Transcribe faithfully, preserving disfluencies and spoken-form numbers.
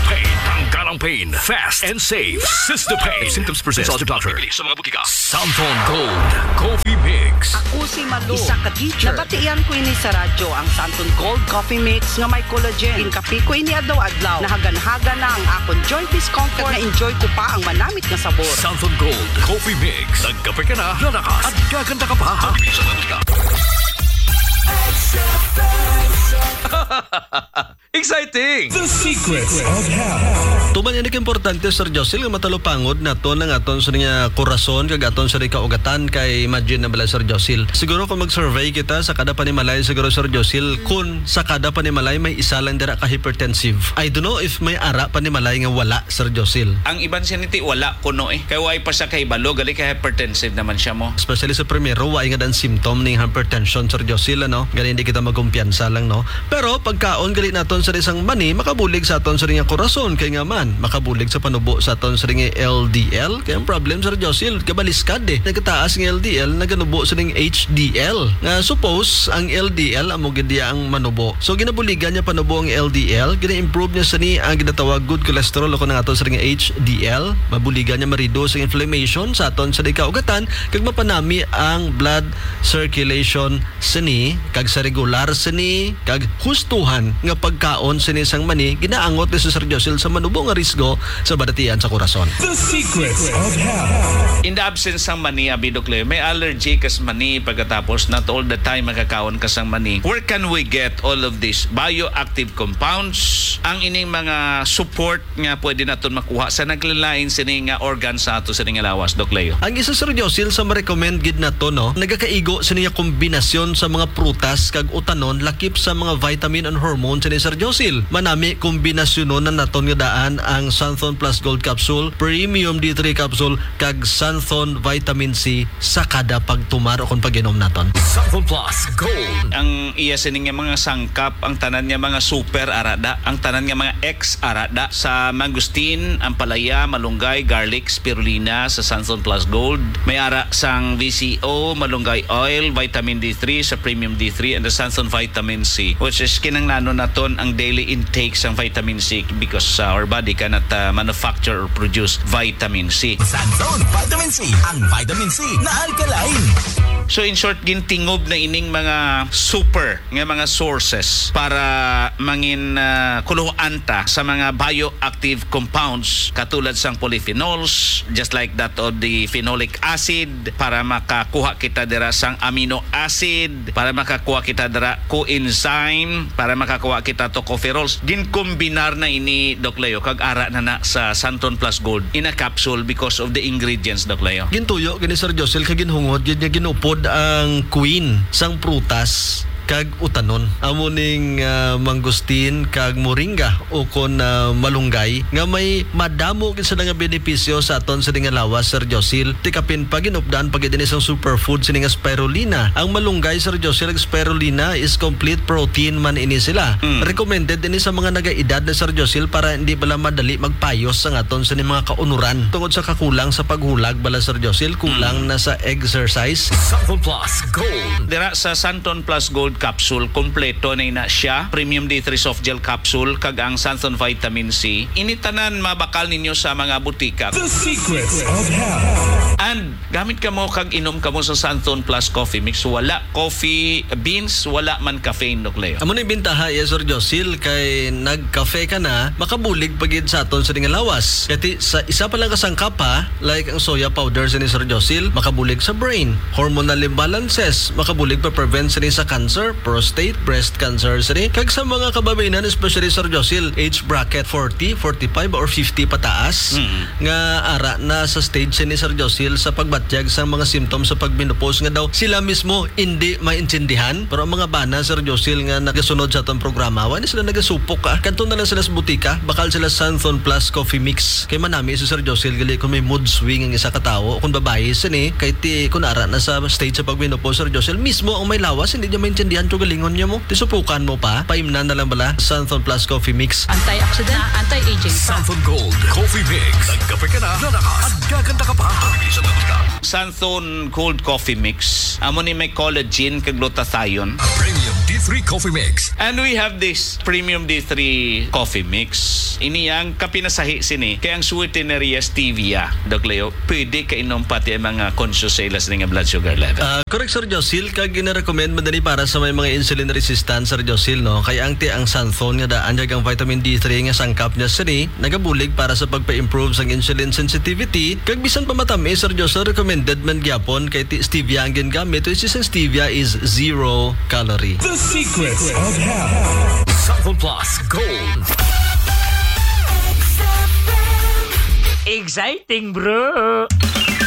Pain, tanggal ang pain. Fast and safe. Sister Pain. If symptoms persist, consult your doctor. Sa mga butika. Santon Gold Coffee Mix. Ako si Malu, isa ka teacher. Nabatian ko ini sa radyo, ang Santon Gold Coffee Mix nga may collagen. Ginkape ko ini adlaw-adlaw. Nahagan-hagan na ang akon joint discomfort. Kag na-enjoy ko pa ang manamit nga sabor. Santon Gold Coffee Mix. Nagkape ka na, lalakas, at gaganda ka pa. Mabibili sa mga butika. Exciting! The Secrets of Health. Tuman ini kaimportante, Sir Josil, nga matalupangod naton ang aton sa nga korason kag aton sa kaugatan. Kay imagine na bala, Sir Josil, siguro kung mag-survey kita sa kada panimalay, siguro, Sir Josil, kung sa kada panimalay may isa lang dira ka hypertensive. I don't know if may ara panimalay nga wala, Sir Josil. Ang iban siniti wala kuno eh. Kay way pa siya kahibalo, gali kay hypertensive naman siya mo. Especially sa primero, way nga dan symptom ning hypertension, Sir Josil, ano? Gani hindi kita magkumpiyansa lang, no? Pero pagkaon gali naton sa isang mani, makabulig sa aton sa nga korason, kay nga man, makabulig sa panubo sa aton sa nga L D L. Kay ang problem, Sir Josil, gabaliskad eh. Nagkataas nga L D L, naganubo sa ning H D L. Nga suppose, ang L D L amo gid iya ang manubo. So, ginabuligan niya panubo ang L D L, gina-improve niya sa ni ang ginatawag good cholesterol o kung ato sa nga H D L. Mabuligan niya ma-reduce ang inflammation sa aton sa kaugatan, kag mapanami ang blood circulation sini, kag sa regular sini, kag hustuhan nga pagkaon sini sang mani, ginaangot ni Sir Josil sa manubo nga risgo sa balatian sa korason. The Secrets of Health. In the absence sang mani, abi, Doc Leo, may allergy ka sa mani, pagkatapos not all the time makakaon ka sang mani. Where can we get all of these bioactive compounds? Ang ining mga support nga pwede naton makuha sa naglain-lain sini nga organ sa ato sini nga lawas, Doc Leo. Ang isa, Sir Josil, sa ma-recommend gid nato, no, nagakaigo sini nga kombinasyon sa mga prutas kag utanon, lakip sa mga vitamin and hormone sini, Sir Josil. Manami kombinasyonon na naton nga daan ang Santhon Plus Gold Capsule, Premium D three Capsule, kag Santhon Vitamin C sa kada pagtumar o kon pag-inom naton. Santhon Plus Gold. Ang iya sini nga mga sangkap, ang tanan nga mga super arada, ang tanan nga mga X arada, sa mangosteen, ampalaya, malunggay, garlic, spirulina, sa Santhon Plus Gold. May ara sang V C O, malunggay oil, vitamin D three, sa premium D three, and the Santhon vitamin C, which is kinanglanon naton ang daily intake sang vitamin C because, uh, our body cannot, uh, manufacture or produce vitamin C. Santhon vitamin C, ang vitamin C na alkaline. So, in short, gintingob na ining mga super nga mga sources para mangin, ah, kuluhoan ta sa mga bioactive compounds katulad sang polyphenols, just like that of the phenolic acid, para makakuha kita dira sang amino acid, para makakuha kita dira coenzyme, para makakuha kita tocopherols. Ginkombinar na ini, Doc Leo, kag ara na na sa Santon Plus Gold in a capsule because of the ingredients, Doc Leo. Gintuyo gani, Sir Josil, kag ginhungod gid nga ginupod ang queen sang prutas kag utanon. Amo ning, ah, mangosteen kag moringa ukon, ah, malunggay nga may madamo gid sila nga benepisyo sa aton sini nga lawas, Sir Josil. Ti kapin pa, ginupdan pa gid ini sang superfood sini nga spirulina. Ang malunggay, Sir Josil, kag spirulina is complete protein man ini sila. Mm. Recommended ini sa mga nagaedad na, Sir Josil, para hindi bala madali magpayos ang aton sini mga kaunuran tungod sa kakulang sa paghulag bala, Sir Josil, kulang Mm. na sa exercise. Santon Plus Gold. Dira sa Santon Plus Gold Capsule, kompleto na ina siya. Premium D three Soft Gel Capsule, kag ang Santon Vitamin C. Ini tanan mabakal ninyo sa mga butika. The Secrets of Health. And gamit kamo kag inom kamo sa Santon Plus Coffee Mix. Wala coffee beans, wala man caffeine, Doc Leo. Amo ni bintaha, yes, Sir Josil, kay nagkafe ka na, makabulig pa gid sa aton sini nga lawas. Kay ti, sa isa pa lang ka sangkap, ha, like ang soya powder sini, Sir Josil, makabulig sa brain, hormonal imbalances, makabulig pa prevent sini sa cancer, prostate, breast cancer sini, kag sa mga kababayen-an, especially, Sir Josil, age bracket forty, forty-five, or fifty pataas, Mm. nga ara na sa stage sini, Sir Josil, sa pagbatyag sa mga symptoms sa pagmenopause nga daw sila mismo hindi maintindihan. Pero ang mga bana, Sir Josil, nga nagasunod sa atong programa, wala sila nagasupok, ah. Kadto na lang sila sa butika, bakal sila Santhon Plus Coffee Mix. Kay manami si Sir Josil, gali kung may mood swing ang isa ka tawo, kung babayi sini, kay ti, kung ara na sa stage sa pagmenopause, Sir Josil, mismo ang may lawas, hindi niya maintindihan kung galingon niya mo. Ti supukan mo pa, paimnan na lang bala, Santhon Plus Coffee Mix. Antioxidant, anti-aging. Santhon Gold Coffee Mix. Nagkape ka na, lalakas, at gaganda ka pa. Mabibili sa mga butika. Santhon Gold Coffee Mix. Amo ni may collagen kag glutathione. A premium D three Coffee Mix. And we have this premium D three coffee mix. Ini ang kapinasahi sini kay ang sweetener niya stevia. Doc Leo, pwede kainom pati ang mga conscious sa ila sini nga blood sugar level. Ah, correct, Sir Josil, kag gina-recommend man dali para sa may mga insulin resistant, Sir Josil, no? Kay ang ti ang xanthone nga daan kag ang vitamin D three nga sangkap niya sini nagabulig para sa pagpa-improve sang insulin sensitivity, kag bisan pa matamis, Sir Josil, recommended man gyapon kay ti stevia ang gingamit, which is ang stevia is zero calorie. The Secrets of Health. Sample Plus Gold. Exciting, bro!